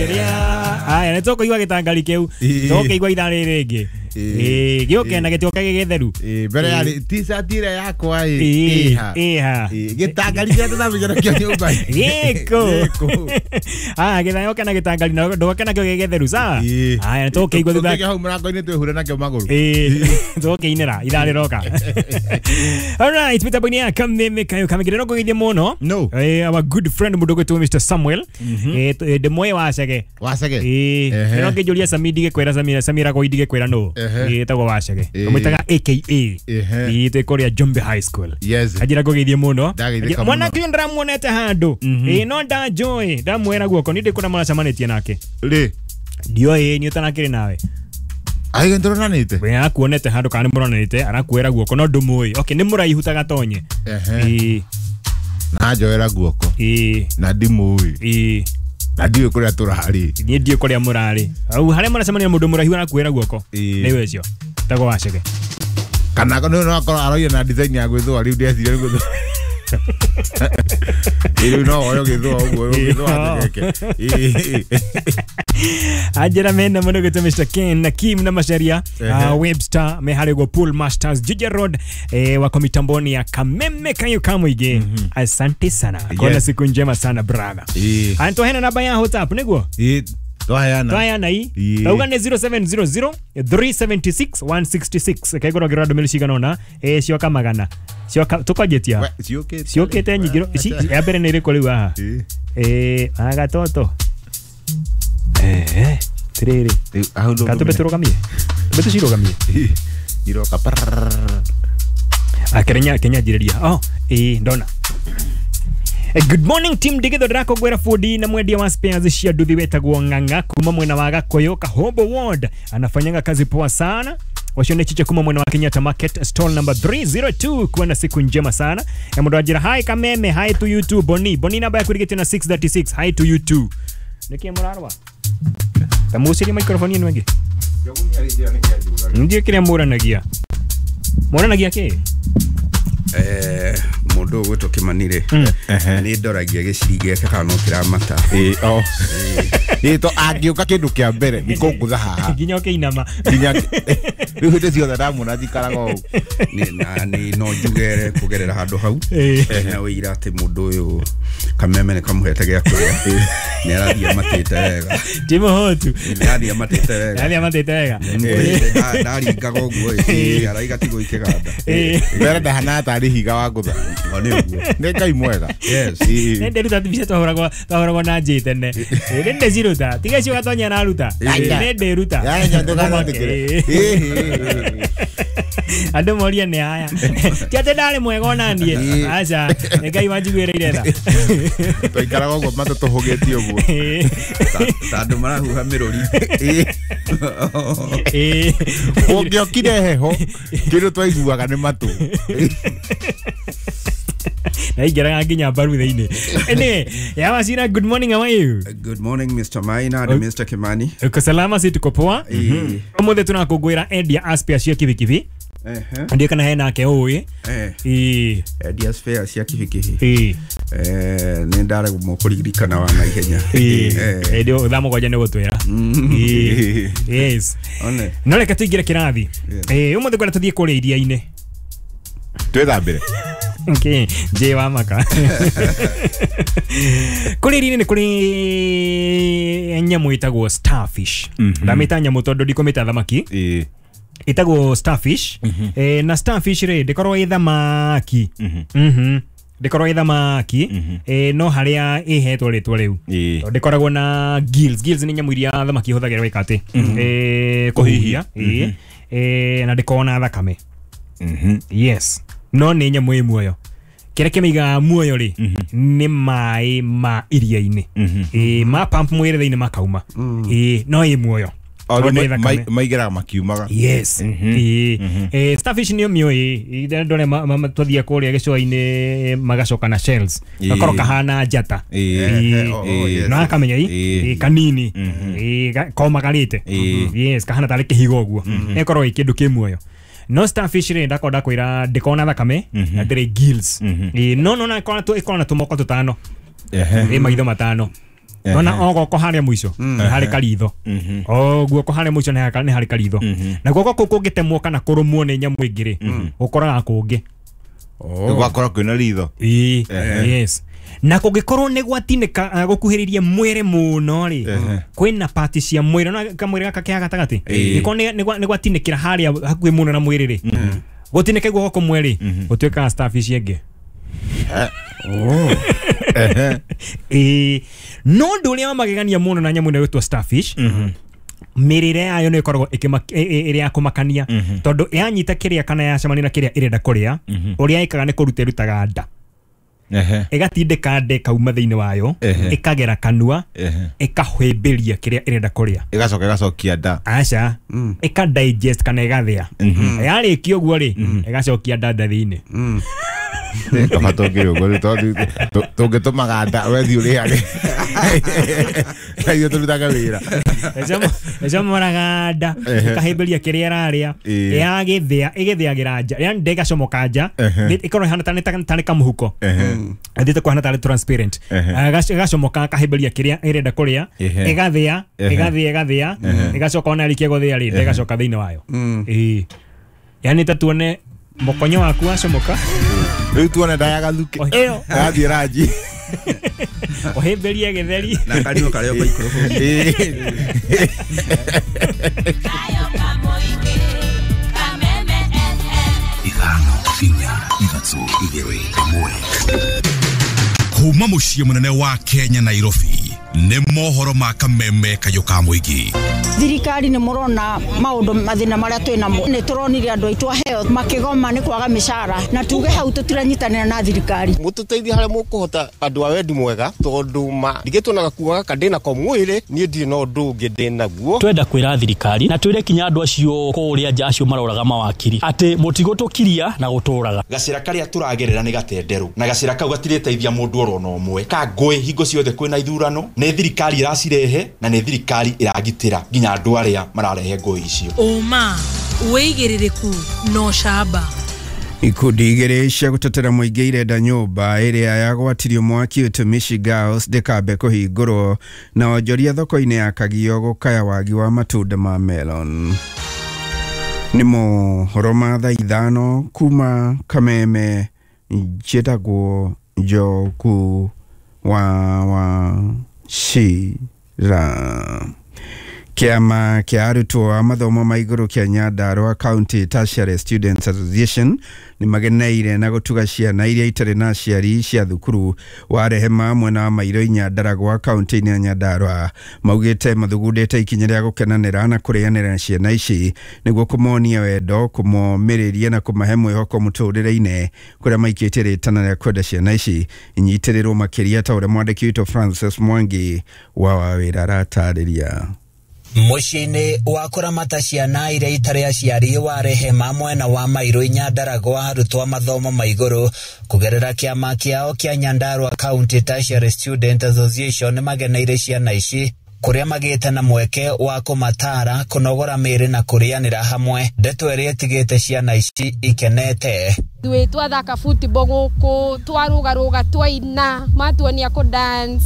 Rĩrĩa aya nĩ tũkũigua gĩtangari kĩu tũkĩigua ithaa rĩrĩ rĩngĩ gĩũke na gĩtioka gĩgĩtheru mbere ya t-shirt ĩrĩa yakwa ĩha ĩha gĩtangari kĩrĩa tũthambagia nakĩo nyũmba gĩkũ aya gĩthayoke na gĩtangari na ndũgoke nakĩo gĩgĩtheru sawa aya nĩ tũkĩigua thutha hau mũrango-inĩ twĩhure nakĩo magũrũ tũkĩinĩra ithaa rĩroka. Alright, mitambo-inĩ ya Kameme Kayo Kamegere no kũgeithie mũno no our good friend mũndũ ũgwĩtwo Mr Samuel ndĩmũĩ Wacege Wacege no ngĩnjũria Sami ndigĩkwĩra Samira Samira go ndigĩkwĩra nũ ĩtagwo Wacege tũmwĩtaga AKA twĩ kũrĩa Jombe High School. Anjĩra ngũgeithie mũno mwanake ũyũ ndĩramuonete handũ no ndanjũĩ ndamwĩra guoko niĩ ndĩ kũrĩa mũracemanĩtie nake rĩ ndioĩ niĩ ũtanakĩrĩ nawe aiga ndũronanĩte we akuonete handũ kana nĩ mũronanĩte arakuĩra guoko no ndũmũĩ. Okay, nĩ mũraihu ta gatonye na njoera guoko na ndimũĩ na ndiũĩ kũrĩa tũrarĩ niĩ ndiũĩ kũrĩa mũrarĩ au harĩa mũracemania na mũndũ mũraihu arakuĩra guoko nĩwe ũcio tagwo Wacege kana no akorwo aroire na design ya gwĩthũa rĩu ndeciria gwĩthũa rĩu no woyo gĩthũa ũguo gĩthũa gĩke anjĩra mena mũno gwĩtwo Mr Ken na Kim na Macharia Webster me harĩa ũguo Pool Masters Juja Road wako mitamboni ya Kameme Kayo Kamũingĩ. Asante sana kona siku njema sana brother. Antohena namba ya WhatsApp nĩguo twaheana ii tauga nĩ 0700 376 166 kaigoro ngĩrora ndũmĩrĩri cigana ũna cioka magana cioka tũkanjĩtia ciũkĩte nyingĩ ya mbere nĩ ĩrĩkũ rĩu haha agatoto tirĩrĩ katũmbe tũrũgamie tũmbe tũcirũgamie iroka akĩrenya Kenya njirĩria ndona. Good morning team Ndigitho ndĩrakũngwĩra fundi na mwendia wa spares cia nduthi wetagwo Ng'ang'a kuma mwena wa Gakoyo Kahombo Ward anafanyanga kazi poa sana. Wacio nĩ Chiche kuma mwena wa Kenyatta Market stall number 302. Kuwa na siku njema sana. Ya mũndũ anjĩra hi Kameme, hi to you too Boni. Boni namba yaku ĩrigĩtio na 636 hi to you too. Nĩkĩ mũrarwa? Ta mũcirie microphone ĩno ĩngĩ. Ndiĩ kĩrĩa mũranagia. Mũranagia kĩ? Mũndũ ũgwĩtwo Kimani rĩ nĩ ndoragia gĩciri gĩake kana no kĩramata to angĩũka kĩndũ kĩa mbere nĩ kũngũtha haha nginya ũkĩinama nginya rĩu hĩndĩ ciothe ndamuona njikaraga ũũ na nĩ no njugere kũgerera handũ hau na wĩira atĩ mũndũ ũyũ Kameme nĩ kamũhete gĩa kũrĩa nĩ arathiĩ amatĩte wega ti mũhũtu nĩ arathiĩ amatĩte wega arathiĩ amatĩte wega ndaringaga ũguo araiga tigwo ikĩganda mbere ndahanaga tarĩ higa wa ngũtha nĩ ũguo nĩ Ngai mwega. Nĩ ndĩruta mbica twahũragwo na njĩ tene nĩ ndĩciruta tiga icio gatonya araruta nĩ ndĩruta andũ morie nĩ aya ti atĩ ndarĩ mwega ona niĩ aca nĩ Ngai wanjiguĩrĩire tha twaikaraga ũguo matũ tũhũgĩtie ũguo ta andũ marahuha mĩrũri ũngĩokire heho kĩndũ twaiguaga nĩ matũ na ingĩraga nginya mbaru thĩinĩ. Anyway, ya Wachira, good morning, how are you? Good morning Mr Maina and Mr Kimani. Uko salama? Si tuko poa. Ũmũthĩ tũrakũngũĩra endia a spare cia kibikibi. Ndiĩ kana hena ake ũĩ endia spare cia kibikibi nĩ ndaremwo kũririkana wa naihenya ĩndĩ thaa mũgwanja nĩ gũtwĩra. Yes. No reke tũingĩre kĩrathi. Ũmũthĩ ngwenda tũthiĩ kũrĩa iria-inĩ twĩthambĩre. Okay, J wa maka. Kũrĩa iria-inĩ nĩ kũrĩ nyamũ ĩtagwo starfish. Ndamĩta nyamũ tondũ ndikũmĩta thamaki. Ĩtagwo starfish. Na starfish rĩ ndĩkoragwo ĩ thamaki. Ndĩkoragwo ĩ thamaki no harĩa ĩhetwo rĩtwa rĩu tondũ ndĩkoragwo na gills. Gills nĩ nyamũ iria thamaki ihũthagĩra gwĩka atĩ kũhuhia na ndĩkoragwo na thakame. Yes. No nĩ nyamũ ĩ muoyo. Kĩrĩa kĩmĩigaga muoyo rĩ nĩ maĩ ma iria-inĩ. Ma pump mwĩrĩ thĩinĩ makauma. No ĩ muoyo. Maigeraga makiumaga. Yes. Starfish nĩyo mĩũĩ andũ arĩa twathiĩ kũrĩa gĩcũa-inĩ magacoka na shells gakorwo kahana njata no akamenya i kanini komagarĩte. Yes, kahana tarĩ kĩhiga ũguo ĩkorwo ĩ kĩndũ kĩ muoyo. No starfish rĩ ndakorwo ndakwĩra ndĩkoragwo na thakame na ndĩrĩ gills. No no na ĩkoragwo na tũmoko tũtano ĩ maitho matano. Nona o guoko haria muico ni hari karitho. O guoko haria muico ni hari karitho. Na guoko kuu kungitemwo kana kurumwo ni nyamu ingi ri gukoraga kungi. Gwakora kwina ritho. Yes. Na kungikorwo ni gwatinĩka gũkuhĩrĩria mwĩrĩ mũno rĩ kwĩna pati cia mwĩrĩ na kamwĩrĩ gaka ke gatagatĩ nĩko nĩ gwatinĩkĩra harĩa hakuhĩ mũno na mwĩrĩ rĩ gũtinĩke guoko kũmwe rĩ gũtuĩkaga starfish ĩngĩ. No ũndũ ũrĩa wa magegania mũno na nyamũ ĩno ĩgwĩtwo starfish mĩrĩre yayo nĩ ĩkoragwo ĩrĩ ya kũmakania tondũ yanyita kĩrĩa kana yacemania na kĩrĩa ĩrenda kũrĩa ũrĩa ĩkaga nĩ kũruta ĩrutaga nda ĩgatindĩka nda ĩkauma thĩinĩ wayo ĩkagera kanua ĩkahĩmbĩria kĩrĩa ĩrenda kũrĩa ĩgacoka ĩgacokia nda aca ĩka digest kana ĩgathĩa yarĩkia ũguo rĩ ĩgacokia nda thĩinĩ. Kaba tũngĩrĩ ũguo tũngĩtũmaga nda wethi ũrĩage ithuĩ tũrutaga wĩra ĩcomoraga nda ĩkahĩmbĩria kĩrĩa ĩrarĩa yagĩthĩa ĩgĩthĩagĩra nja yani nda ĩgacomoka nja ĩkorwo ĩhana tarĩ kamũhuko ĩthiĩte kũhana tarĩ transparent ĩgacomoka akahĩmbĩria kĩrĩa ĩrenda kũrĩa ĩgathĩa ĩgathĩa ĩgathĩa ĩgacoka ona yarĩkia gũthĩa rĩ nda ĩgacoka thĩinĩ wayo. Yani ta tuone mokonyo waku wacomoka rĩu tuone nda ya gathuke ĩyo yathiĩ ranji ũhĩmbĩrie gĩtheri na kanua karĩa microphone. Ithano inya ithatũ igĩrĩ ĩmwe kuma mũciĩ mũnene wa Kenya Nairobi nĩ mohoro ma Kameme kayũ ka mũingĩ. Thirikari nĩ mũrona maũndũ mathĩna marĩa twĩ namo nĩ tũronire andũ aitũ aheo makĩgoma nĩ kwaga mĩcara na tuge hau tũtiranyitanĩra na thirikari. Mũtũteithie harĩa mũkũhota andũ a wendi mwega tondũ ma ndigĩtwo gakuo gaka ndĩnako mwĩrĩ niĩ ndirĩ na ũndũ ũngĩ ndĩnaguo. Twenda kwĩra thirikari na twĩre kinya andũ acio kũrĩa nja acio maroraga mawakiri atĩ mũtigũtũkiria na gũtũraga. Gacĩra karĩa tũragerera nĩ gatenderũ na gacĩra kau gatirĩteithia mũndũ oro na ũmwe ka ngũĩ hingo ciothe kwĩna ithurano nĩ thirikari ĩracirehe na nĩ thirikari ĩragitĩra nginya andũ arĩa mararehe ngũĩ icio. Ũma wĩigĩrĩrĩku no camba. Ikundi igĩrĩ cia gũtetera mũingĩ irenda nyũmba ĩrĩa yagwatirio mwaki Utumishi Girls ndĩkambe kũhingũrwo na onjoria thoko-inĩ ya Kagio gũkaya wagi wa matunda ma melon. Nĩ mohoro ma thaa 5 kuma Kameme njĩtagwo Njoku wa Wachira. Kĩama kĩa arutwo a mathomo ma igũrũ kĩa Nyandarua County Tertiary Students Association nĩ mageneire na gũtuga ciana iria itarĩ na aciari cia thukuru wa Rehema mwena wa Mairũ Nyandaragwa kaunti-inĩ ya Nyandarua. Maugĩte mathugundĩte ikinya rĩa gũkenanĩra na kũrĩanĩra na ciana ici nĩguo kũmonia wendo, kũmomĩrĩria na kũmahe mwĩhoko mũtũrĩre-inĩ kũrĩa maikĩtie rĩtana rĩa kwenda ciana ici inyitĩrĩrwo makĩria ta ũrĩa mwandĩki witũ Francis Mwangi wa Wawĩra aratarĩria. Mũciĩ-inĩ wa kũramata ciana iria itarĩ aciari wa Rehema mwena wa Mairũ Nyandaragwa arutwo a mathomo ma igũrũ kũgerera kĩama kĩao kĩa Nyandarua County Tertiary Student Association nĩmageneire ciana ici kũrĩa magĩte na mweke wa kũmatara kũnogora mĩĩrĩ na kũrĩanĩra hamwe. Ndeto ĩrĩa ĩtigĩte ciana ici ikenete. Ithuĩ twathaka football gũkũ twarũgarũga twaina matuonia kũ dance.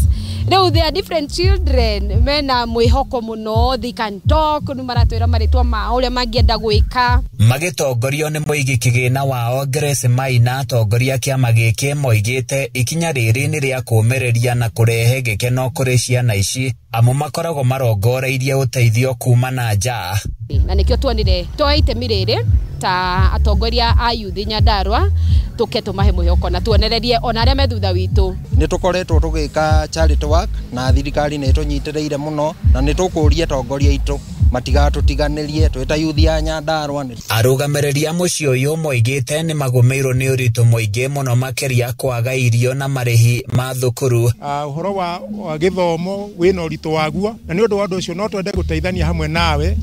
Rĩu they are different children mena mwĩhoko mũno, they can talk, nĩ maratwĩra marĩtwa mao ũrĩa mangĩenda gwĩka. Magĩtongorio nĩ mũigi kĩgĩna wao Grace Maina atongoria kĩama gĩkĩ moigĩte ikinya rĩrĩ nĩ rĩa kũũmĩrĩria na kũrehe gĩkeno kũrĩ ciana ici amu makoragwo marongoreirie ũteithio kuma na nja. Na nĩkĩo tuonire tuoe itemi rĩrĩ ta atongoria a youth Nyandarua tuke tumahe mwĩhoko na tuonererie ona arĩa me thutha witũ. Nĩ tũkoretwo tũgĩka charity work na thirikari nĩ ĩtũnyitĩrĩire mũno na nĩ tũkũria atongoria aitũ matigatũtiganĩrie twĩ ta youth ya Nyandarua. Arũgamĩrĩri a mũciĩ ũyũ moigĩte nĩ magũmĩirwo nĩ ũritũ mũingĩ mũno makĩria kwaga irio na marĩhi ma thukuru. Ũhoro wa gĩthomo wĩna ũritũ waguo na nĩ ũndũ wa ũndũ ũcio no twende gũteithania hamwe nawe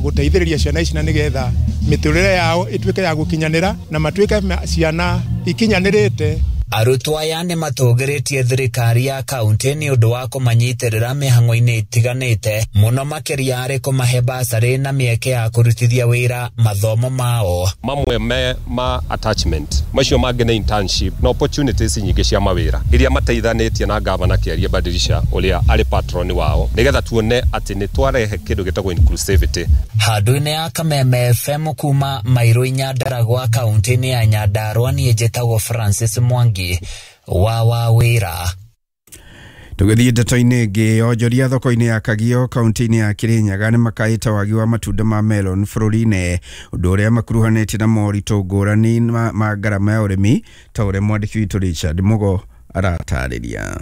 gũteithĩrĩria ciana ici na nĩgetha mĩtũrĩre yao ĩtuĩke ya gũkinyanĩra na matuĩke ciana ikinyanĩrĩte. Arutwo aya nĩ matũgĩrĩtie thirikari ya kaunti nĩ ũndũ wa kũmanyitĩrĩra mĩhang'o-inĩ ĩtiganĩte, mũno makĩria harĩ kũmahe basarĩ na mĩeke ya kũrutithia wĩra mathomo mao. Mamwe me ma attachment, macio mangĩ nĩ internship na opportunities nyingĩ cia mawĩra iria mateithanĩtie na gavana Kĩarie Badilisha ũrĩa arĩ patron wao, nĩgetha tuone atĩ nĩ twarehe kĩndũ gĩtagwo inclusivity. Handũ-inĩ ya Kameme FM kuma Mairũ Nyandaragwa kaunti-inĩ ya Nyandarua, niĩ njĩtagwo Francis Mwangi wa Wawĩra. Tũgĩthiĩ ndeto-inĩ ĩngĩ, onjoria thoko-inĩ ya Kagio kaunti-inĩ ya Kirinyaga nĩ makaĩte wagi wa matunda ma melon bũrũri-inĩ, ũndũ ũrĩa makuruhanĩtie na moritũ ngũrani ma ngarama ya ũrĩmi, ta ũrĩa mwandĩki witũ Richard Mugo aratarĩria.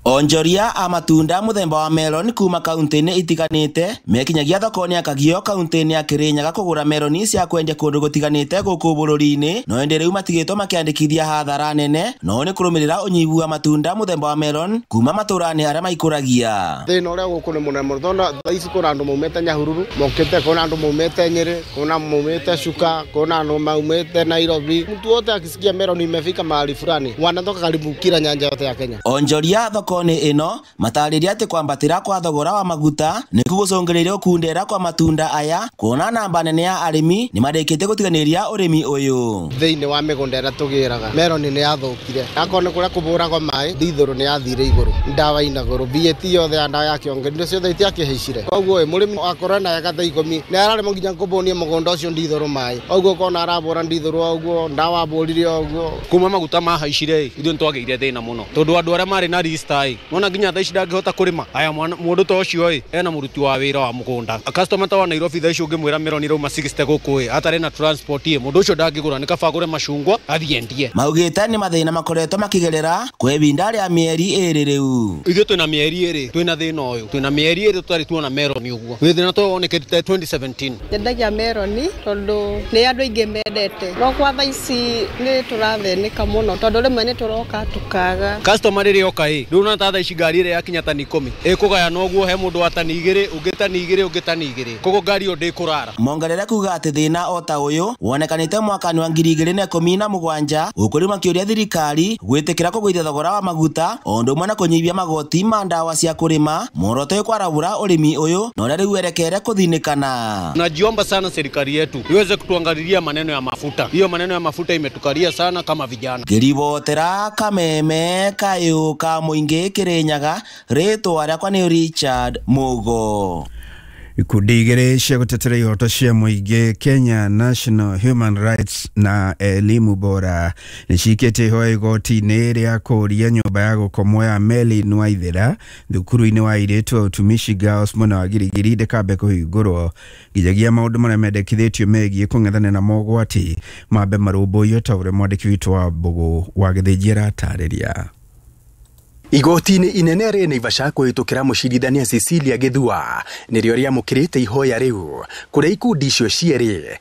Onjoria a matunda mũthemba wa melon kuma kaunti-inĩ itiganĩte mekinyagia thoko-inĩ ya Kagio kaunti-inĩ ya Kirinyaga kũgũra meloni cia kwendia kũndũ gũtiganĩte gũkũ bũrũri-inĩ, no ĩndĩ rĩu matigĩtwo makĩandĩkithia hathara nene, no nĩ kũrũmĩrĩra ũnyihu wa matunda mũthemba wa melon kuma matũra-inĩ arĩa maikũragia. Thĩna ũrĩa gũkũ nĩ mũnene mũno, tondũ thaa ici kwĩna andũ maumĩte Nyahururu mokĩte, kwĩna andũ maumĩte Nyĩrĩ, kwĩna maumĩte Chuka, kwĩna andũ maumĩte Nairobi. Mtu wote akisikia melon imefika mahali fulani wanatoka karibu kila nyanja yote ya Kenya. Onjoria thoko-inĩ ĩno matarĩria atĩ kwambatĩra kwa thogora wa maguta nĩkuo gũcũngĩrĩirie gũkundera kwa matunda aya, kuona namba nene ya arĩmi nĩmarĩkĩtie gũtiganĩria ũrĩmi ũyũ. Thĩinĩ wa mĩgũnda ĩrĩa tũgĩraga melon nĩ yathũkire, akorwo nĩ kũrĩa kũbũragwo maĩ ndithũrũ nĩ yathire igũrũ, ndawa ina goro, VAT yothe ya ndawa ya kĩongo indo ciothe itiakĩhaicire. Koguo mũrĩmi akorwo na eka thaa 10 nĩ araremwo nginya kũbũnia mũgũnda ũcio ndithũrũ maĩ, ũguo ũkona arabũra ndithũrũ ũguo, ndawa abũrire ũguo. Kuma maguta mahaicire ithuĩ nĩtwagĩire thĩna mũno, tondũ andũ arĩa marĩ na rista nona nginya thaa ici ndangĩhota kũrĩma. Aya mũndũ ta ũcio ena mũruti wa wĩra wa mũgũnda, customer ta wa Nairobi thaa ici ũngĩmwĩra melon irauma 60 gũkũ atarĩ na transport mũndũ ũcio ndangĩgũra, nĩ kaba agũre macungwa athiĩ endie. Maugĩte nĩ mathĩna makoretwo makĩgerera kwa ihinda rĩa mĩeri 2 rĩu. Ithuĩ twĩna mĩeri 2 twĩna thĩna ũyũ, twĩna mĩeri 2 tũtarĩ tuona melon ũguo, nĩ thĩna twonekete 2017. Nyendagia melon tondũ nĩ andũ aingĩ mendete, no kwa thaa ici nĩ tũrathĩnĩka mũno tondũ rĩmwe nĩ tũroka tũkaga. Customer rĩrĩa oka rĩu na thaa ici ngari ĩrĩa yakinya tani 10 ĩkũgayana ũguo, he mũndũ wa tani 2, ũngĩ tani 2, ũngĩ tani 2, koguo ngari ĩyo ndĩkũrara. Mongerere kuga atĩ thĩna o ta ũyũ wonekanĩte mwaka-inĩ wa 2017, gũkũ rĩu makĩũria thirikari gwĩtĩkĩra kũgũithia thogora wa maguta o ũndũ ũmwe na kũnyihia magoti ma ndawa cia kũrĩma, muoroto wĩ kwarahũra ũrĩmi ũyũ na ũrĩa rĩu werekere kũthinĩkana. Najiomba sana serikali yetu iweze kutuangalilia maneno ya mafuta, hiyo maneno ya mafuta imetukalia sana kama vijana. Ngĩribotera Kameme kayũ ka mũingĩ Kirinyaga, rĩtwa rĩakwa nĩ Richard Mugo. Ikundi igĩrĩ cia gũtetera ihoto cia mũingĩ Kenya National Human Rights na Elimu Bora nĩ cikĩtie ihoya igoti-inĩ rĩa kũũria nyũmba ya gũkomwo ya Meli Waithera thukuru-inĩ wa airĩtu wa Utumishi Girls mwena wa Girigiri ndĩkambe kũhingũrwo nginyagia maũndũ marĩa mendekithĩtio megiĩ kũng'ethanĩra na mogwati mambe marũmbũiyo, ta ũrĩa mwandĩki witũ wa Mbũgũ wa Gĩthĩnji aratarĩria. Igoti-inĩ inene rĩ Naivasha kũhĩtũkĩra mũcirithania Cecilia Gĩthua nĩrĩo rĩamũkĩrĩte ihoya rĩu, kũrĩa ikundi icio cierĩ